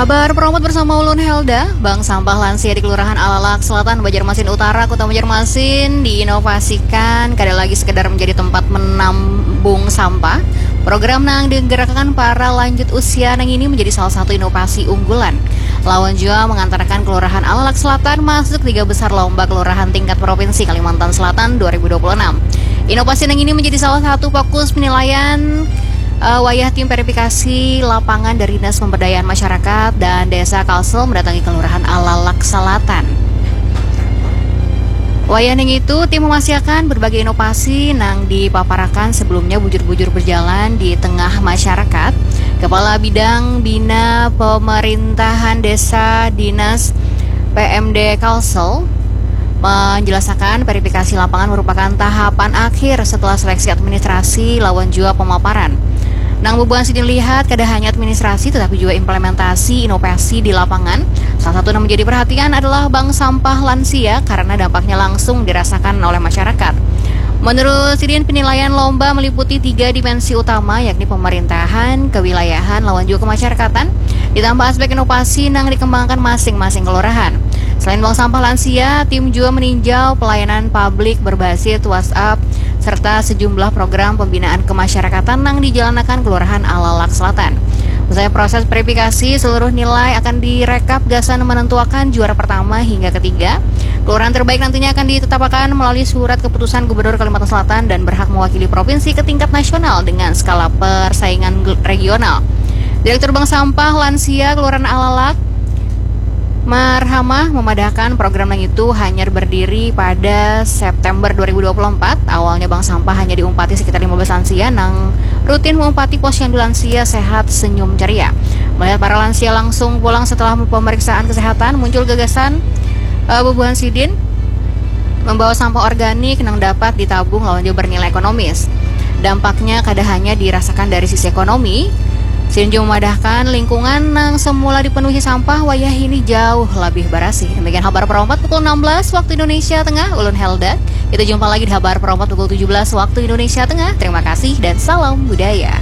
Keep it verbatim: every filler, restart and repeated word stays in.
Habar Promote bersama ulun Helda. Bank sampah lansia di Kelurahan Alalak Selatan, Banjarmasin Utara, Kota Banjarmasin diinovasikan kada lagi sekedar menjadi tempat menambung sampah. Program nang digerakkan para lanjut usia nang ini menjadi salah satu inovasi unggulan. Lawan jua mengantarkan Kelurahan Alalak Selatan masuk tiga besar lomba kelurahan tingkat provinsi Kalimantan Selatan dua ribu dua puluh enam. Inovasi nang ini menjadi salah satu fokus penilaian eh, wayah tim verifikasi lapangan dari Dinas Pemberdayaan Masyarakat dan Desa Kalsel mendatangi Kelurahan Alalak Selatan. Wayah ning itu, tim memastikan berbagai inovasi nang dipaparakan sebelumnya bujur-bujur berjalan di tengah masyarakat. Kepala Bidang Bina Pemerintahan Desa Dinas P M D Kalsel menjelaskan verifikasi lapangan merupakan tahapan akhir setelah seleksi administrasi lawan jua pemaparan. Nang bubuhan sidin lihat kada hanya administrasi tetapi juga implementasi inovasi di lapangan. Salah satu yang menjadi perhatian adalah bank sampah lansia karena dampaknya langsung dirasakan oleh masyarakat. Menurut sidin, penilaian lomba meliputi tiga dimensi utama, yakni pemerintahan, kewilayahan, lawan juga kemasyarakatan, ditambah aspek inovasi nang dikembangkan masing-masing kelurahan. Selain bank sampah lansia, tim juga meninjau pelayanan publik berbasis WhatsApp serta sejumlah program pembinaan kemasyarakatan nang dijalankan Kelurahan Alalak Selatan. Usai proses verifikasi, seluruh nilai akan direkap gasan menentuakan juara pertama hingga ketiga. Kelurahan terbaik nantinya akan ditetapkan melalui surat keputusan Gubernur Kalimantan Selatan dan berhak mewakili provinsi ke tingkat nasional dengan skala persaingan gel- regional. Direktur Bank Sampah Lansia Kelurahan Alalak, Marhamah, memadahkan program nang itu hanyar berdiri pada September dua ribu dua puluh empat. Awalnya bank sampah hanya diumpati sekitar lima belas lansia nang rutin mengumpati posyandu lansia sehat senyum ceria. Melihat para lansia langsung pulang setelah pemeriksaan kesehatan, muncul gagasan eh, bubuhan sidin membawa sampah organik nang dapat ditabung lawan juga bernilai ekonomis. Dampaknya kada hanya dirasakan dari sisi ekonomi, sidin juga memadahkan lingkungan nang semula dipenuhi sampah wayah ini jauh lebih barasih. Demikian habar Pro empat pukul enam belas waktu Indonesia Tengah, ulun Helda. Kita jumpa lagi di habar Pro empat pukul tujuh belas waktu Indonesia Tengah. Terima kasih dan salam budaya.